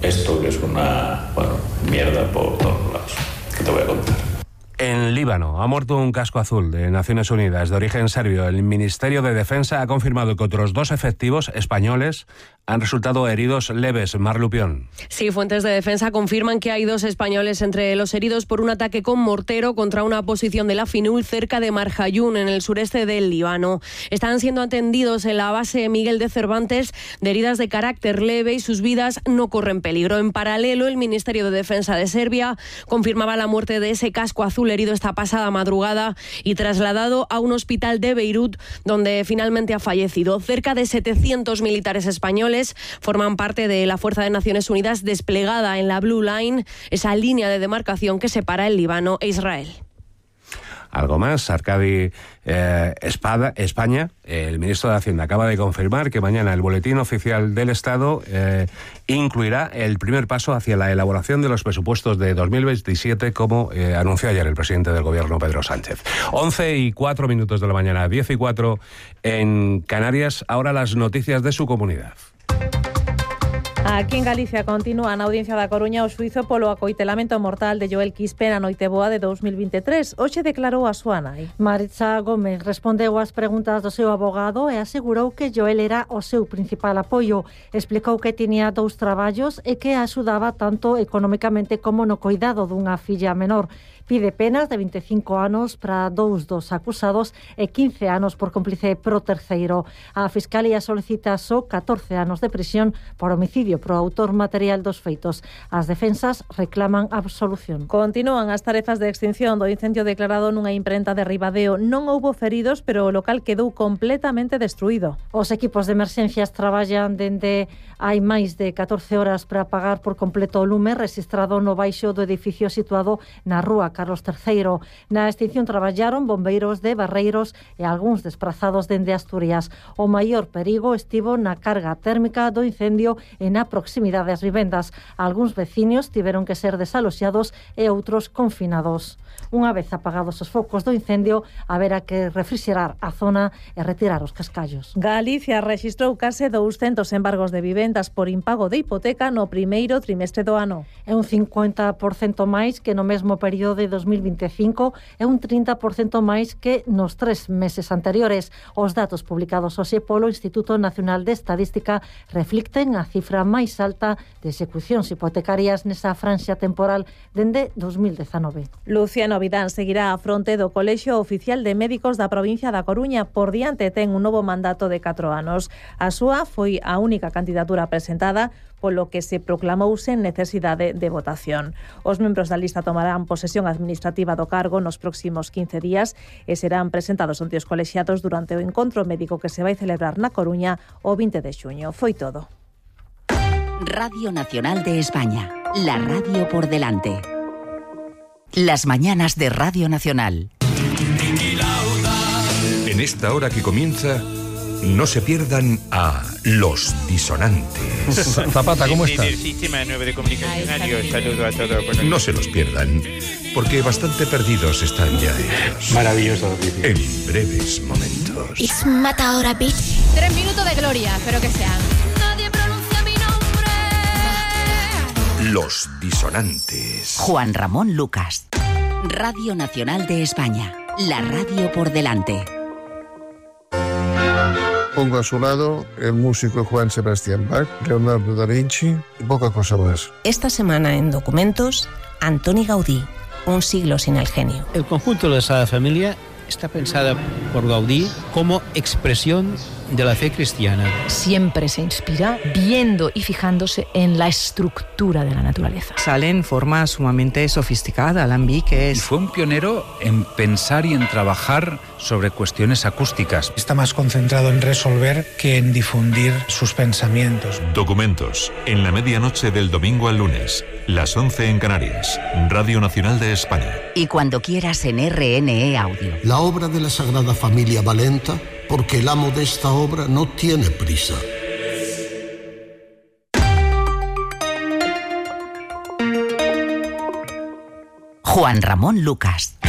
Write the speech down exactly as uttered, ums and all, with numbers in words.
Esto que es una, bueno, mierda por todos lados. ¿Qué te voy a contar? En Líbano ha muerto un casco azul de Naciones Unidas de origen serbio. El Ministerio de Defensa ha confirmado que otros dos efectivos españoles han resultado heridos leves. Mar Lupión. Sí, fuentes de defensa confirman que hay dos españoles entre los heridos por un ataque con mortero contra una posición de la FINUL cerca de Marjayún, en el sureste del Líbano. Están siendo atendidos en la base Miguel de Cervantes de heridas de carácter leve y sus vidas no corren peligro. En paralelo, el Ministerio de Defensa de Serbia confirmaba la muerte de ese casco azul herido esta pasada madrugada y trasladado a un hospital de Beirut, donde finalmente ha fallecido. Cerca de setecientos militares españoles forman parte de la Fuerza de Naciones Unidas desplegada en la Blue Line, esa línea de demarcación que separa el Líbano e Israel. Algo más, Arcadi eh, Espada, España, el ministro de Hacienda acaba de confirmar que mañana el Boletín Oficial del Estado eh, incluirá el primer paso hacia la elaboración de los presupuestos de dos mil veintisiete, como eh, anunció ayer el presidente del Gobierno, Pedro Sánchez. once y cuatro minutos de la mañana, diez y cuatro en Canarias. Ahora las noticias de su comunidad. Aquí en Galicia continúa na Audiencia da Coruña o xuízo polo acoitelamento mortal de Joel Quispe na noite boa de dos mil veintitrés. Hoxe declarou a súa nai. Maritza Gómez respondeu ás preguntas do seu abogado e asegurou que Joel era o seu principal apoio. Explicou que tiña dous traballos e que axudaba tanto económicamente como no cuidado dunha filla menor. Pide penas de veinticinco anos para dous dos acusados e quince anos por cómplice pro terceiro. A Fiscalía solicita só catorce anos de prisión por homicidio pro autor material dos feitos. As defensas reclaman absolución. Continúan as tarefas de extinción do incendio declarado nunha imprenta de Ribadeo. Non houbo feridos, pero o local quedou completamente destruído. Os equipos de emerxencias traballan dende hai máis de catorce horas para apagar por completo o lume rexistrado no baixo do edificio situado na rúa Carlos terceiro. Na extinción traballaron bombeiros de Barreiros e algúns desprazados dende Asturias. O maior perigo estivo na carga térmica do incendio e na proximidade ás vivendas. Algúns veciños tiveron que ser desaloxados e outros confinados. Unha vez apagados os focos do incendio, haberá que refrixerar a zona e retirar os cascallos. Galicia rexistrou case douscentos embargos de vivendas por impago de hipoteca no primeiro trimestre do ano. É un cincuenta por cento máis que no mesmo período de dos mil veinticinco e un trinta por cento máis que nos tres meses anteriores. Os datos publicados hoxe polo Instituto Nacional de Estadística reflicten a cifra máis alta de execucións hipotecarias nesa franxa temporal dende dos mil dezanove. Luciano Vidán seguirá á fronte do Colexio Oficial de Médicos da provincia da Coruña. Por diante ten un novo mandato de catro anos. A súa foi a única candidatura presentada, polo que se proclamou sen necesidade de votación. Os membros da lista tomarán posesión administrativa do cargo nos próximos quince días e serán presentados ante os colexiados durante o encontro médico que se vai celebrar na Coruña o vinte de xuño. Foi todo. Radio Nacional de España, la radio por delante. Las mañanas de Radio Nacional. En esta hora que comienza, no se pierdan a Los Disonantes. Zapata, ¿cómo estás? El sistema nuevo de comunicación. Adiós, saludo a todos. No se los pierdan, porque bastante perdidos están ya ellos. Maravillosa noticia. En breves momentos. Es matadora, bitch. Tres minutos de gloria, espero que sean. Nadie pronuncia mi nombre. Los Disonantes. Juan Ramón Lucas. Radio Nacional de España, la radio por delante. Pongo a su lado el músico Juan Sebastián Bach, Leonardo da Vinci y poca cosa más. Esta semana en Documentos, Antoni Gaudí, un siglo sin el genio. El conjunto de la Sagrada Familia está pensada por Gaudí como expresión de la fe cristiana. Siempre se inspira viendo y fijándose en la estructura de la naturaleza. Sale en forma sumamente sofisticada, alambique es... Fue un pionero en pensar y en trabajar sobre cuestiones acústicas. Está más concentrado en resolver que en difundir sus pensamientos. Documentos, en la medianoche del domingo al lunes, las once en Canarias, Radio Nacional de España. Y cuando quieras en R N E Audio. La obra de la Sagrada Familia va lenta porque el amo de esta obra no tiene prisa. Juan Ramón Lucas.